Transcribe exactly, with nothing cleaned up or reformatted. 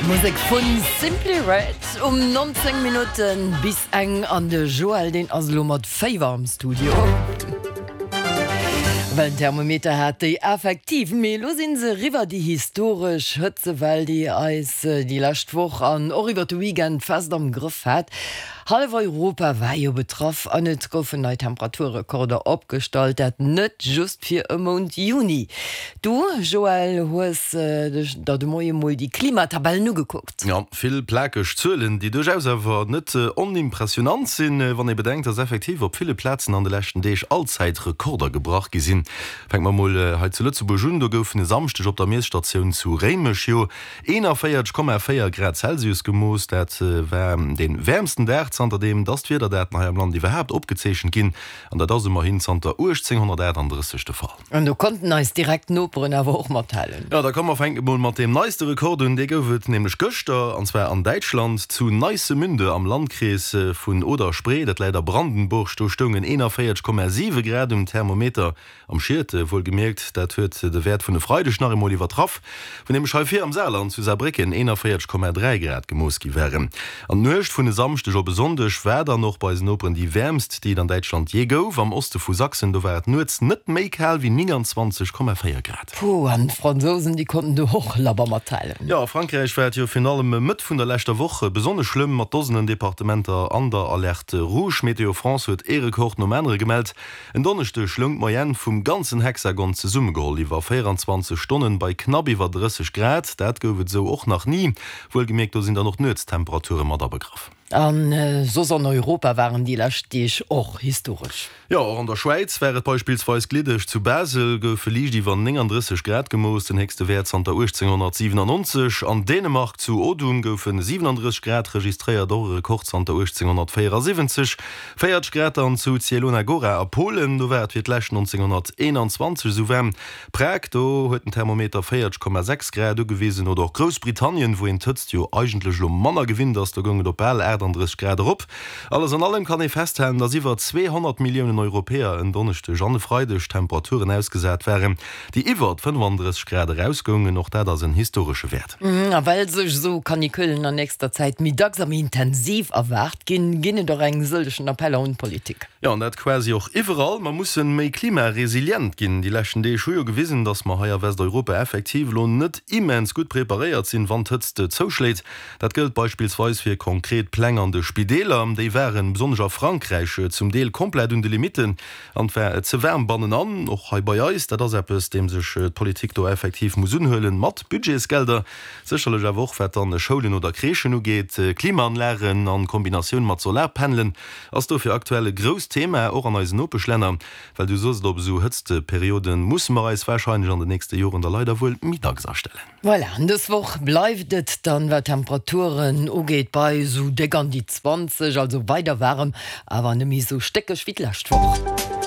Musek vun Simply Red um nonzéng Minutten bis eng an de Joël deen ass elo mat Féiwer am Studio. Well den Thermometer hat déi effektiv, mee elo sinn se eriwwer, déi historesch Hëtzewell, déi eis déi lescht Woch an och iwwer de Weekend fest am Grëff hat. Hallef Europa war jo betraff an et goufen nei Temperaturrekorder opgestallt, dat net just fir e Mount Juni. Du, Joël, hues dech der de Moie mol déi Klimatabellen ugekuckt. Jo, vill plakeg Zuelen, déi duerchaus awer net onimpressionant sinn, wann ee bedenkt, dass effektiv op ville Plazen an de leschten Deeg Allzäitrekorder gebrach gi sinn. Fänke mer mol hei zu Lëtzebuerg un, do goufen e Samschdeg op der Miesstatioun zu Réimech jo eenanvéierteg Komma véier Grad Celsius gemooss. Dat war dee wäermsten Dag, zanterdeem dass d'Wiederdaten hei am Land iwwerhaapt opgezeechent ginn, an dat ass ëmmerhin zanter uechtzénghonnertaachtanddrësseg de Fall. An do konnten eis direkt Noperen awer och mathalen. Jo, da komm mer fänke mol mat deem neiste Rekord un. Dee gouf et nämlech gëschter, an zwar an Däitschland, zu Neißemünde am Landkrees vun Oder-Spree, dat läit a Brandenburg. Do stoungen eenanvéierteg Komma siwe Grad um Thermometer. Am Schiet, wuelgemierkt, dat huet de Wäert vun e Freideg nach eemol iwwertraff, wou nämlech hei vir am Saarland zu Saarbrécken eenanvéierteg Komma dräi Grad gemooss gi waren. An d'Nuecht vun e Samschdeg op e Sonndeg war dann och bei eisen Noperen déi wäermst, déi et an Däitschland jee gouf. Am Oste vu Sachsen, do war et nuets net méi kal wéi nénganzwanzeg Komma véier Grad. Puh, an d'Fransousen, déi konnten do och labber mathalen. Jo, a Frankräich war et jo virun allem Mëtt vun der leschter Woch besonnesch schlëmm, mat Dosenen Departementer an der Alerte rouge. Météo France huet ee Rekord nom anere gemellt. En Donneschdeg loung d'Moyenne vum ganzen Hexagon zesummegeholl iwwer véieranzwanzeg Stonnen bei knapp iwwer drësseg Grad. Dat gouf et esou och nach ni. Wuelgemierkt, do sinn dann och d'Nuetstemperature mat abegraff. A soss an Europa waren déi lescht Deeg och historesch. Jo, och an der Schwäiz war et beispillsweis gliddeg. Zu Basel goufe liicht iwwer nénganddrësseg Grad gemooss, den héchste Wäert zanter uechtzénghonnertsiwenannonzeg. An Dänemark zu Odum goufe siwenandrësseg Grad registréiert, och e Rekord zanter uechtzénghonnertvéierasiwwenzeg. Véierteg Grad dann zu Zielona Gora a Polen, do war et fir d'lescht nonzénghonnerteenanzwanzeg esou waarm. Prag, do huet den Thermometer véierteg Komma sechs Grad ugewisen. Oder och Groussbritannien, wou een d'Hëtzt jo eigentlech elo manner gewinnt ass, do goung et op bal aachtanddrësseg Grad erop. Alles an allem kann ee festhalen, dass iwwer zweehonnert Milliounen Europäer en Donneschdeg an e Freideg Temperaturen ausgesat waren, déi iwwer fënnefandrësseg Grad erausgoungen. Och dat ass en historesche Wäert. A well sech esou Canicullen an nächster Zäit méi dacks a méi intensiv erwaart ginn, ginn et och eng sëllegen Appeller un d'Politik. Jo, an dat quasi och iwwerall. Mer mussen méi klimaresilient ginn. Déi leschten Deeg hu jo gewisen, dass mer hei a Westeuropa effektiv elo net immens gutt preparéiert sinn, wann d'Hëtzt zouschléit. Dat gëllt beispillsweis fir konkret Pläng an de Spideeler. Déi waren, besonnesch a Frankräich, zum Deel komplett un de Limitten an et war ze waarm bannenan. Och hei bei eis, dat ass eppes, deem sech d'Politik do effektiv muss unhuelen, mat Budgetsgelder, sécherlech awer och wat dann Schoulen oder Crèchen ugeet. Klimaanlagen an Kombinatioun mat Solarpanelen ass dofir aktuell e grousst Thema, och an eisen Nopeschlänner. Well du soss et, op esou Hëtztperioden musse mer eis warscheinlech an den nächste Joren da leider wuel méi dacks astellen. Voilà, an dës Woch bleift et dann, wat d'Temperaturen ugeet, bei esou déck an déi zwanzeg, also weider waarem, awer net méi esou stéckeg wéi d'lescht Woch.